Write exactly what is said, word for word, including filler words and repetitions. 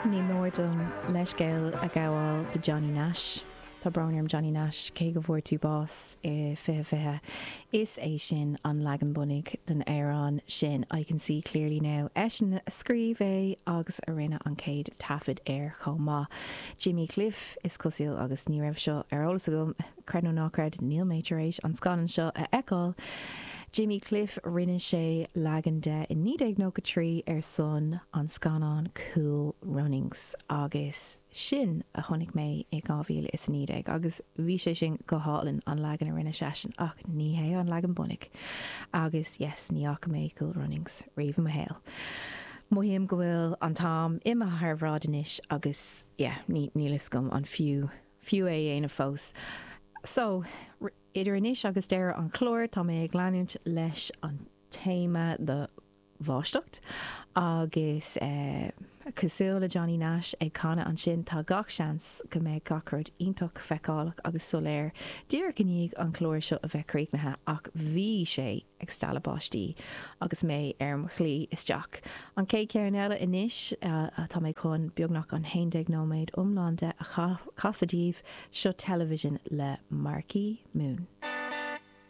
Ní mór dom leithscéal a ghabháil do Johnny Nash. Tá brón orm Johnny Nash cé go bhfuair tú bás i fiche fiche. Is é sin an leagan bunaidh den amhrán sin I can see clearly now. Eisean a scríobh é agus a rinne an chéad taifead air chomh maith. Jimmy Cliff is cosúil agus ní raibh seo ar eolas agam creid nó ná creid níl mé tar éis an scannán seo a fheiceáil. Jimmy Cliff rinne sé leagan de i naoi déag nócha trí ar son an scannán Cool Runnings agus sin a chonaic mé i dhá mhíle is a naoi déag agus bhí sé sin go hálainn an leagan a rinne seisean ach ní hé an leagan bunaidh agus yes ní fhaca mé Cool Runnings riamh i mo shaol. Mothaím go bhfuil an t-am imithe thar bhráid anois agus yeah ní níl fhios agam an fiú fiú é a dhéanamh fós. So, idir anois agus deireadh an chláir, tá mé ag leanúint leis an téama do bháisteacht agus eh, cosúil le Johnny Nash ag canadh ansin tá gach seans go mbeidh gach rud iontach feiceálach agus soiléir díreach i ndiaidh an clár seo a bheith críochnaithe ach bhí sé ag stealladh báistí agus mé ar mo shlí isteach. An chéad cheann eile anois atá mé chun beagnach an haon déag nóiméad iomlán de a chasadh daoibh, seo Television le Marquee Moon.